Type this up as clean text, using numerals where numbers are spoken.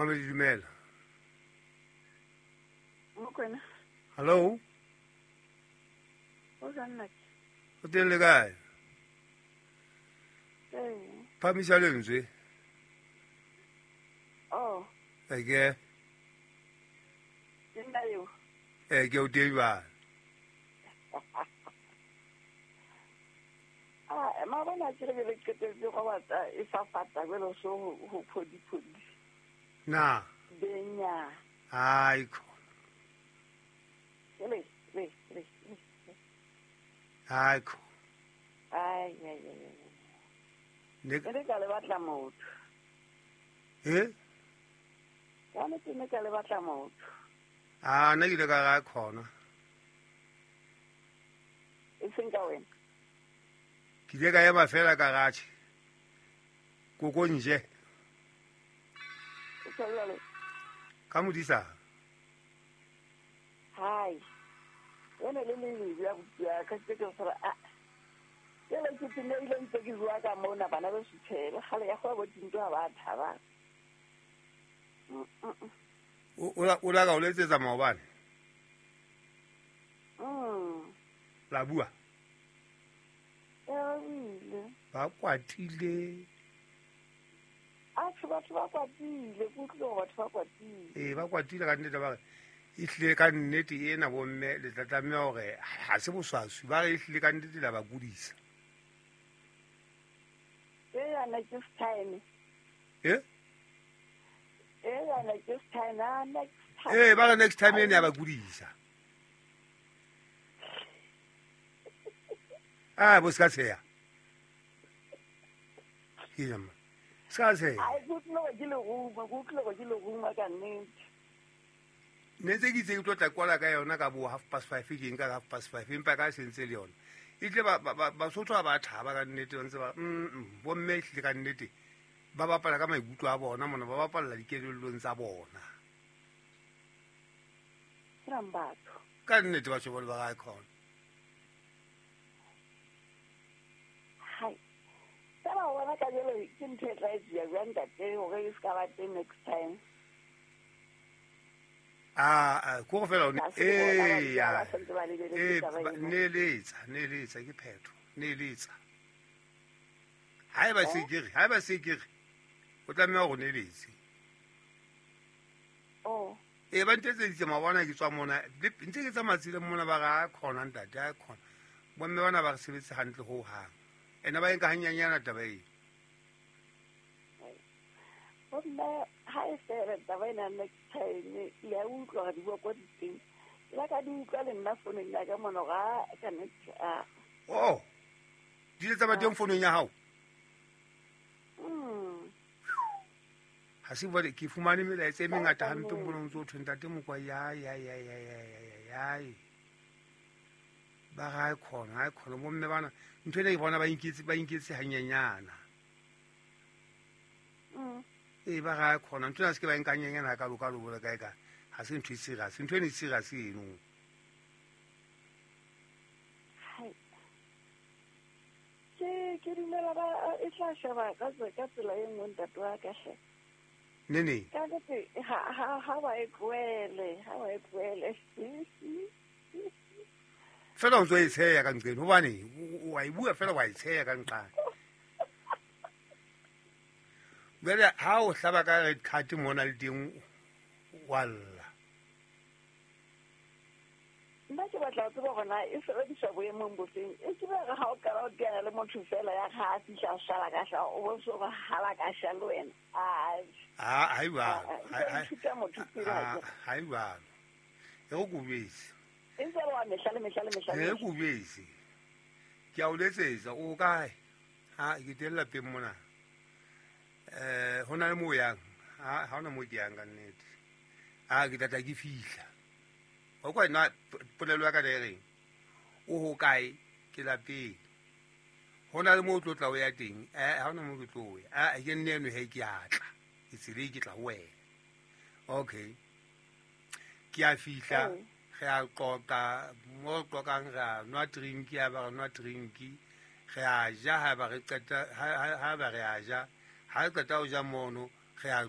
Mamedi, dumela. Mokwena. Hallo. O jang nnake? O teng le kae? Ee. Phamisa lentswe. Oh. Eke. Ke nna eo. Eke o teng jwale. Ah, maabane a kere ke qetelletse go batla e fafata jwalo so ho phodi phodi. Na. Benya. Ai khona. Le le le. Ai khona. Ai ai ai. Ne ne ka le batla motho. Eh? Ka nnete ne ka le batla motho. Ah, nna ke ile ka ra khona. E seng ka wena. Ke ile ka ema fela ka ratjhe. Koko nje. O tjho jwalo? Ka modisa. Hai. Wena le le ya ya ka ke ke sora a. Ke le ke tine ile ntse ke bua ka mona bana ba sutshela gale ya go bo tinto ha ba thaba. O la ka o letsetsa maobane. La bua. Ba kwatile. Atjhe, batho ba kwatile, ke utlwile hore batho ba kwatile. Ee, ba kwatile ka nnete, ba re ehlile ka nnete ena bomme le tla tlameha hore ha se boswaswi, ba re ehlile ka nnete la ba kudisa. E yana ke time. Eh? E yana ke time, ah, next time. Ee, ba re next time ena ya ba kudisa. Ah, bo ska tsheya. Ke jama. Ska tsheya. Ai, ke utlwile hore ke leruma, ke utlwile hore ke leruma ka nnete. Ne ntse ke itse ke tlo tla kwala ka yona ka bo 5:30, ke nka ka 5:30, empa ka se ntse le yona. E tle Basotho ha ba thaba ka nnete, ba ntse ba, bomme ehlile ka nnete ba bapala ka maikutlo a bona mona, ba bapalla dikelellong tsa bona. Ke batho. Ka nnete batho ba le ba ga khona. Hai. Fela o bona ka jalo ke ntho e tla etsuwa jwang ntate hore e se ka ba teng next time. Ah, ko go fela o ne Ha se bona ba ee, ba ya. santse ba lebeletse Ee, taba eno. neeletsa ke phetho, neeletsa. Haeba se ke re, haeba se ke re, o tlameha hore o neeletse. Oh. Ee, ba ntetseditse mabona ke tswa mona, ntse ke tsamaya tseleng mona ba re a khona ntate, a khona. Bomme bana ba re sebetse hantle ho hang. Ene ba e nka hanyanyana taba eo. Bomme ha e fela taba ena next time, le a utlwa hore di bua ko di teng. Ke la ka di utlwa le nna founung ya ka mona hore a ka nnete a. Oh. Di ile tsa ba teng founung ya hao? Ha se bua ke fumane melaetsa e mengata hampe mona o ntso thwe ntate Mokwa ya ya ya ya ya ya ya ya. Ba ga e khona, ha e khona bomme bana ntho ena ke bona ba inketse hanyenyana. Ee, ba ga e khona ntho ena se ke ba nka hanyenyana ka loka lo bole kae ka. Ha se ntho e serious, ntho ena e serious eno. Hai. Ke dumela ba e tla sheba ka tsela e nngwe ntate wa ka hle. Ne ne. Ka nnete ha ba e tlohele, ha ba e tlohele. Fela o ntso e tsheya ka nqeng hobane wa e bua fela wa e tsheya ka nqane. Jwale ha o hlaba ka red card mona le teng wa lla. Nna ke batla ho tseba hore na e sebediswa boemong bofeng. E ke re ha o qala ho teana le motho fela ya ha a fihla a shala ka sha, o bo so re hala ka sha le wena. Ai. Ha, ha e jwalo. Ah, ithuta motho pele ha ke. Ha e jwalo. E go kobetse. E ntse le wa mehla le mehla le mehla le E mehla. kobetse. Ke a o letsetsa, o kae? Ha ke teng lapeng mona. Ho na le moo yang? Ha hona moo ke yang ka nnete. Ha ke tla tla ke fihla. O kwa nna polelo ya ka le reng? O ho kae? Ke lapeng. Ho na le moo o tlo tla o ya teng? Ha hona moo ke tlo ya. Ah, ke nne eno he ke a tla. Ke tseleng ke tla ho wena. Okay. Ke a fihla. Re a qoqa, mo re qoqang re a nwa drink, ya ba re nwa drink. Re a ja ha ba re qeta, ha ba re a ja. Ha re qeta ho ja mono, re a